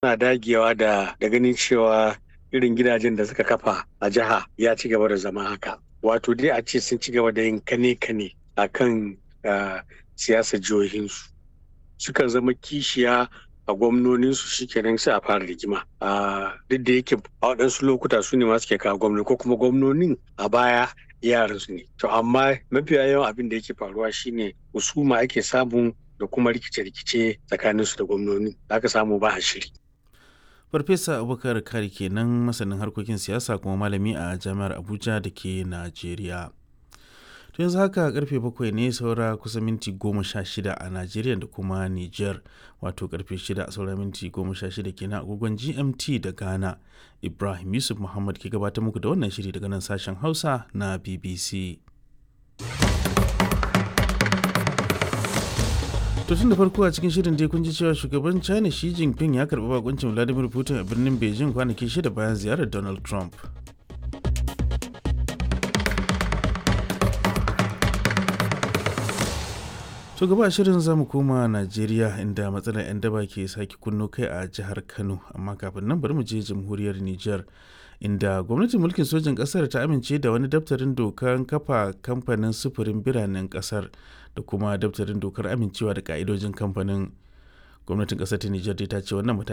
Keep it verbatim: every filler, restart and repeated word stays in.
Suna dagewa da da ganin cewa irin gidajen da suka kafa a jiha ya ci gaba da zama haka. Wato dai a ce sun ci gaba da yin kane-kane a kan siyasar jihohinsu. Sukan zama kishiya a gwamnoninsu, shikenan sai a fara rigima. Duk da yake a waɗansu lokuta su ne ma suke kawo gwamnoni, ko kuma gwamnonin a baya yaransu ne. To amma mafiya yawan abin da yake faruwa shine husuma ake samu da kuma rikice-rikice tsakaninsu da gwamnoni. Aka samu ba a shiri. Farfesa Abubakar Kari kenan, masanin harkokin siyasa kuma malami a Jami'ar Abuja da ke Najeriya. To yanzu haka karfe bakwai ne saura kusa minti goma sha shida a Najeriya da kuma Niger, wato karfe shida saura minti goma sha shida kenan agogon G M T da Ghana. Ibrahim Yusuf Muhammad ke gabatar muku da wannan shiri daga nan sashen Hausa na B B C. To tun da farko a cikin shirin dai kun ji cewa shugaban China Xi Jinping ya karɓi bakuncin Vladimir Putin a birnin Beijing kwanaki shida bayan ziyarar Donald Trump. To gaba shirin zamu koma Najeriya, inda matsalar 'yan daba ke sake kunno kai a jihar Kano, amma kafin nan bari mu je jamhuriyar Nijar, inda gwamnatin mulkin sojin kasar ta amince da wani daftarin dokar kafa kamfanin sufurin biranen kasar da kuma daftarin dokar amincewa da ka'idojin kamfanin. Gwamnatin kasar ta Nijar dai ta ce wannan mataki